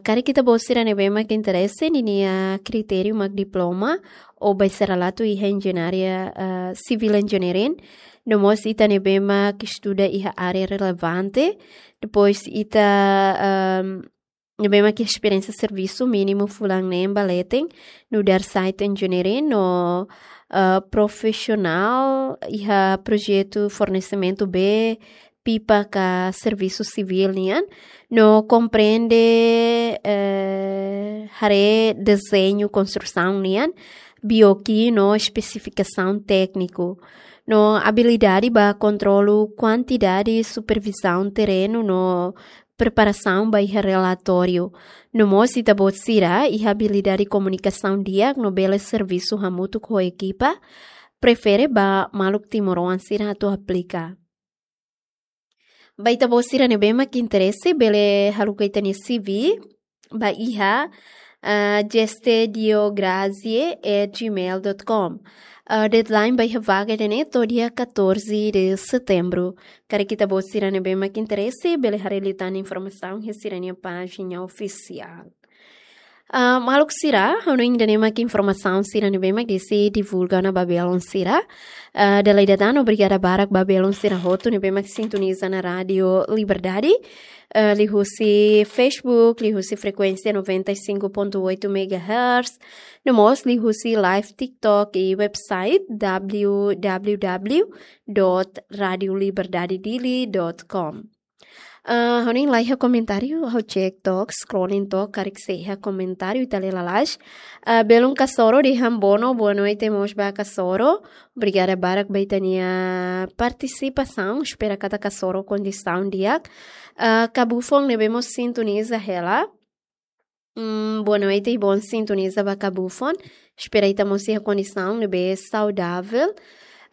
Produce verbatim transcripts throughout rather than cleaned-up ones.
Karik ita-boot sira ne'ebé mak interese, ninia kritériu mak diploma ou baiseloradu iha enjeñaria, eh, civil engineering. No mós ita ne'ebé mak estuda iha área relevante. Depois ita, ehm, ne'ebé mak esperiénsia servisu mínimu fulan neen ba leten nu'udar site engineering no, eh, profisionál iha projetu fornesimentu bee pipa ka servisu sivíl nian, no komprende, eh, haree dezeñu konstrusaun nian, B O Q no espesifikasaun tékniku, no abilidade ba kontrolu kuantidade, supervizaun terrenu no preparasaun ba iha relatóriu. No mós ita-boot sira iha abilidade komunikasaun di'ak no bele servisu hamutuk ho ekipa, prefere ba maluk timoroan sira atu aplika. Ba ita-boot sira ne'ebé mak interese, bele haruka ita-nia C V ba iha, ah, gestediograzie at gmail dot com. Ah, deadline ba iha vaga ida-ne'e to'o dia catorze de setembro. Karik ita-boot sira ne'ebé mak interese, bele haree liután informasaun iha sira-nia pájina ofisiál. Ah, maluk sira, ha'u hanoin ida-ne'e mak informasaun sira ne'ebé mak desi divulga ona ba belun sira. Ah, dala ida tan, obrigada barak ba belun sira hotu ne'ebé mak sintoniza ona Rádiu Liberdade. Ah, liuhusi Facebook, liuhusi frekuénsia noventa e cinco ponto oito megahertz. No mós liuhusi live TikTok i website w w w dot radio liberdade dili dot com. Ah, ha'u hanoin la iha komentáriu, ha'u cek to'ok, scrolling to'ok, karik sei iha komentáriu, ita lee lalais. Ah, belun Kasoro dehan bono, boa noite mós ba Kasoro. Obrigada barak ba ita-nia partisipasaun, espera katak Kasoro kondisaun di'ak. Ah, Kabufon ne'ebé mós sintoniza hela. Mm, boa noite, bom sintoniza ba Kabufon. Espera ita mós iha kondisaun ne'ebé saudavel.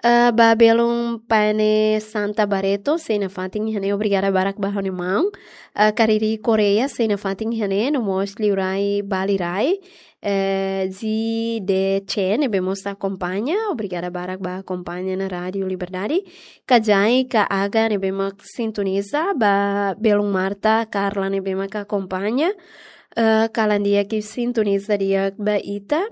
Ah, ba belun Pane Santa Barreto, sei nafatin iha ne'e, obrigada barak ba ha'u-nia maun. Ah, Kariri Korea, sei nafatin iha ne'e, no mós liurai Bali Rai. Eh, Zi De Che, ne'ebé mós akompaña, obrigada barak ba akompaña ona Rádiu Liberdade. Kajai Ka Aga, ne'ebé mak sintoniza, ba belun Marta Carla, ne'ebé mak akompaña. Eh, kalan di'ak i sintoniza di'ak ba ita.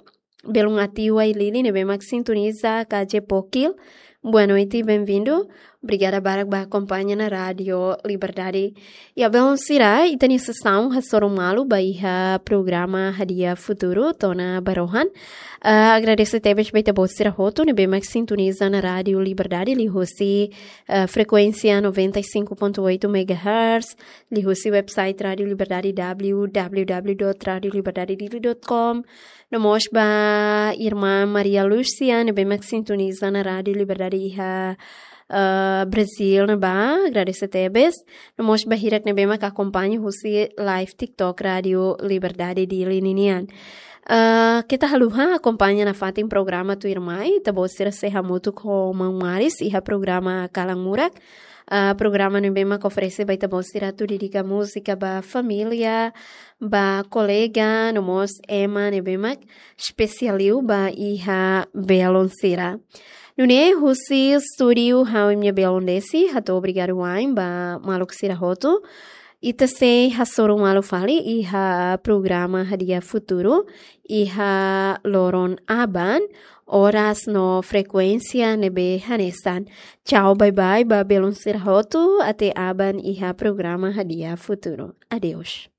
Belun Atiwa i Lili, ne'ebé mak sintoniza, Kaje Pokil. Boa noite, bem-vindo. Obrigada barak ba akompaña ona Rádiu Liberdade. Ya, belun sira, ita-nia sesaun hasoru malu ba iha programa Hadi'a Futuru to'o ona ba rohan. Ah, agradese tebes ba ita-boot sira hotu ne'ebé mak sintoniza ona Rádiu Liberdade liuhusi, ah, frekuénsia noventa e cinco ponto oito megahertz, liuhusi website Rádiu Liberdade w w w dot radio liberdade dili dot com. No mós ba irmán Maria Lúcia, ne'ebé mak sintoniza ona Rádiu Liberdade iha, eh, Brazil ne'ebá, agradese tebes. No mós ba hirak ne'ebé mak akompaña husi live TikTok Rádiu Liberdade Dili ninian. Eh, keta haluha akompaña nafatin programa tuirmai, ita-boot sira sei hamutuk ho maun Maris iha programa Kalan Murak. Ah, programa ne'ebé mak oferese ba ita-boot sira atu dedika múzika ba família, ba kolega, no mós ema ne'ebé mak espesiál liu ba iha belun sira. Nune'e husi estúdiu ha'u-nia belun Desi, hato'o obrigadu wa'in ba maluk sira hotu. Ita sei hasoru malu fali iha programa Hadi'a Futuru, iha loron aban, oras no frekuénsia ne'ebé hanesan. Tchau, bye bye, ba belun sira hotu, até aban iha programa Hadi'a Futuru. Adeus.